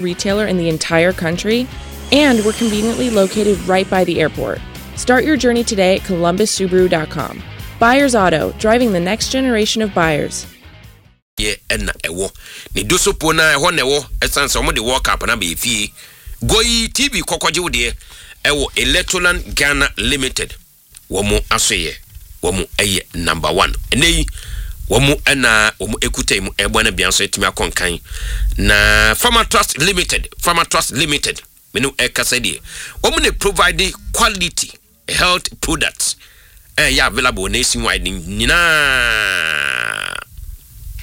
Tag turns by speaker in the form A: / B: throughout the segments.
A: Retailer in the entire country, and we're conveniently located right by the airport. Start your journey today at columbussubaru.com. Buyers Auto, driving the next generation of buyers.
B: Yɛ ɛna ɛwɔ ne dosopo na ɛhɔ na ɛwɔ ɛsan sɛ wɔn de World Cup na bɛyɛ fie goyi TV kɔkɔgye wo deɛ ɛwɔ Electroland Ghana Limited. Wɔn asoyɛ wɔn ɛyɛ number one. Ɛnɛ yi wɔn ɛna wɔn ekuta mu ɛbɔ na bia nso ɛtumi akɔ nkan na Pharma Trust Limited, Pharma Trust Limited mene ɛkasa deɛ, wɔn na provide quality health products ɛyɛ available nationwide nyinaa.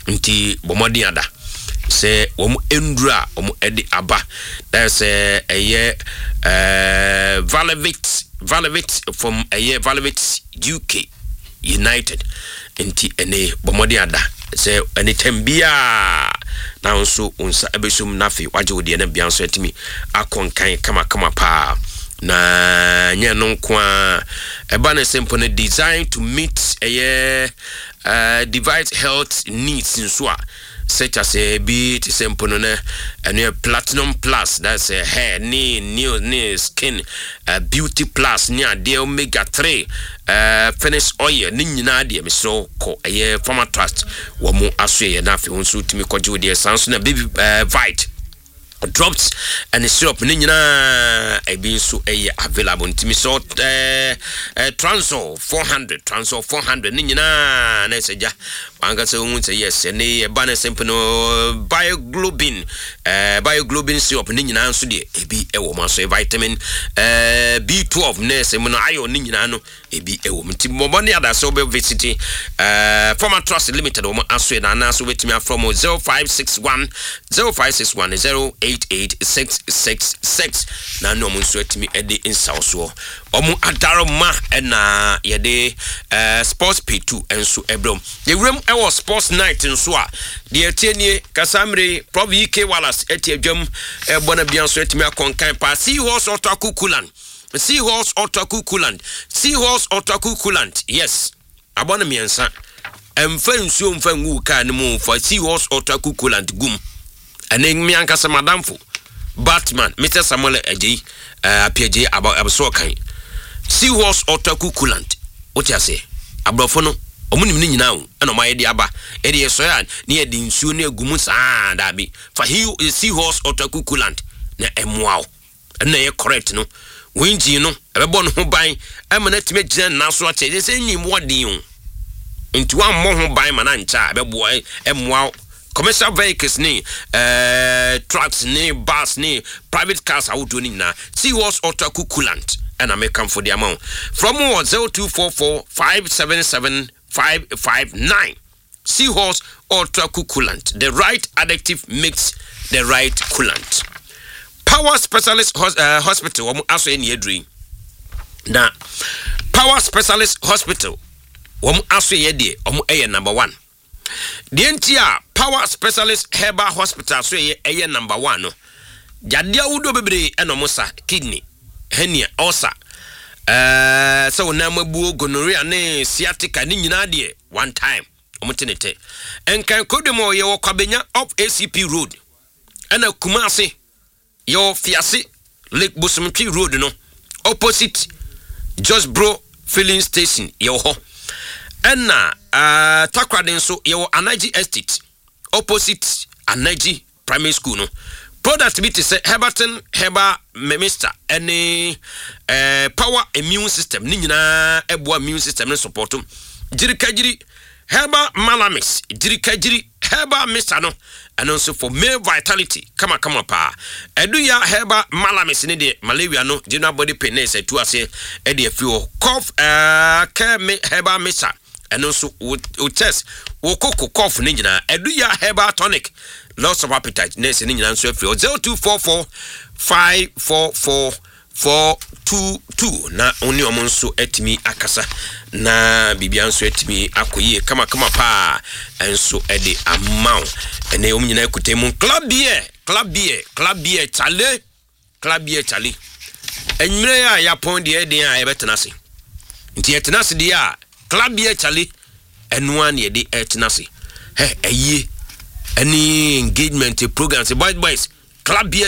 B: Nti bɔ mmɔden ada sɛ wɔn nduru a wɔn de aba na sɛ ɛyɛ Valevit, Valevit from ɛyɛ Valevit UK United. Nti ɛne bɔ mmɔden ada sɛ ɛne tɛm biara na nso wo nsa ɛbɛsum na afei wagye wo deɛ na bia nso atumi akɔ nkan kamakama paa. Na nyɛ no nko a, ɛba ne sɛ mpo no design to meet ɛyɛ device health needs nso a, such as bi te sɛ mpo no no ɛno yɛ Platinum Plus, that's hair ne nail ne skin, Beauty Plus ne adeɛ, Omega 3, finish oil ne nyinaa deɛ, mesrɛ kɔ ɛyɛ Pharma Trust wɔ mo aso yɛ na afei wo nso wotumi kɔgye wo deɛ. Saa nso na Baby Vite drops ɛne syrup ne nyinaa ebi nso ɛyɛ available. Ntumi sɛ Transol 400, Transol 400 ne nyinaa na ɛsɛ gya wankasa ohun sɛ yes, ɛne ɛba ne sɛ no Bioglobin, Bioglobin syrup ne nyinaa nso deɛ, ebi ɛwɔ mu aso vitamin B12 ne ɛsɛ mu no iron ne nyinaa no ebi ɛwɔ mu. Nti mmɔbɔ ne adasɛ wobɛ visit Pharma Trust Limited wɔn aso yɛ na anaasɛ wobɛtumi afrɛ mo 0561 0561 088 666 na ne ɔmo nso atumi de nsawosoɔ. Ɔmo adaroma ɛna yɛde Sports Pay 2 nso ɛbrɛ mu. Yɛwuram ɛwɔ Sports Night nso a, deɛ ɛtie nie: kasa mmere Prof Ek Wallace ɛte adwam ɛbɔ no bia nso atumi akɔnkan paa. Seahorse Ultra Cool Coolant, Seahorse Ultra Cool Coolant, Seahorse Ultra Cool Coolant, yes, abɔ no mmiɛnsa. Ɛmfa nsuo mfa ngu kaa no mu, fa Seahorse Ultra Cool Coolant gum. Ɛne me ankasa madamfo Batman Mr Samuel Agyei, Apiagyei abɛso ɔkan Seahorse Ultra Cool Coolant. Wote aseɛ, aborɔfo no ɔmo nim ne nyinaa o, ɛna ɔmo ayɛ de aba. Ɛde yɛsɔre a ne yɛde nsuo ne agu mu saa, daabi, fa Seahorse Ultra Cool Coolant na ɛmoa wo. Ɛno na ɛyɛ correct no. Wo engine no ɛbɛbɔ ne ho ban ɛma no atumi agyina ne nan so akyɛ sɛ engine mu ɔden o. Nti wammɔ ho ban ma no ankyɛ a, ɛbɛboa ɛmmoa wo. Commercial vehicles ne trucks ne bus ne private cars ahodoɔ no nyinaa, Seahorse Ultra Cool Coolant ɛna mekamfo de ama wo. From wɔ 0244 577 559. Seahorse Ultra Cool Coolant, the right additive makes the right coolant. Power Specialist Hospital wɔn aso yɛ ne aduru yi na Power Specialist Hospital wɔn aso yɛ deɛ, wɔn yɛ number one. Deɛ nti a Power Specialist Herbal Hospital so yɛ ɛyɛ number one no, yadeɛ ahodoɔ bebree ɛna wɔn sa: kidney, hernia, ulcer, sɛ wɔn nan abuo, gonorrhea ne sciatica ne nyinaa deɛ, one time wɔn te ne tɛ. Nkan kodom a yɛwɔ Kwabenya off ACP Road, ɛna Kumase yɛwɔ Fiase Lake Bosomtwe Road no, opposite Josbro Filling Station yɛwɔ hɔ, ɛna Takoradi nso yɛwɔ Anaji Estate, opposite Anaji Primary School no. Product bi te sɛ Herbatin Herbal Mixture ɛne Power Immune System ne nyinaa ɛboa immune system ne support. Gyirikagyiri Herbal Malamis, Gyirikagyiri Herbal Mixture no, ɛno nso for male vitality kamakama paa. Ɛduya Herbal Malamis ne deɛ, malaria no, general body pain ne sɛ tu aseɛ ɛde afiri hɔ. Cough Care Herbal Mixture, ɛno nso wo chest, wo koko, cough ne nyinaa. Ɛduya Herbal Tonic, loss of appetite ne sɛ ne nyinaa nso afiri hɔ. 0244 544 422 na wo ne ɔmo nso atumi akasa na biribia nso atumi akɔ yie kamakama paa ɛnso ɛde ama wo. Ɛnɛ ɔmo nyinaa kuta mu Club Beer, Club Beer, Club Beer, chale, Club Beer, chale. Anwummerɛ a yɛapɔn deɛ, ɛden a yɛbɛtena ase nti yɛtena ase deɛ a, Club Beer, chale, ɛnoa ne yɛde ɛtena ase. Hɛ, ɛyie ɛne engagement programs, boys boys, Club Beer.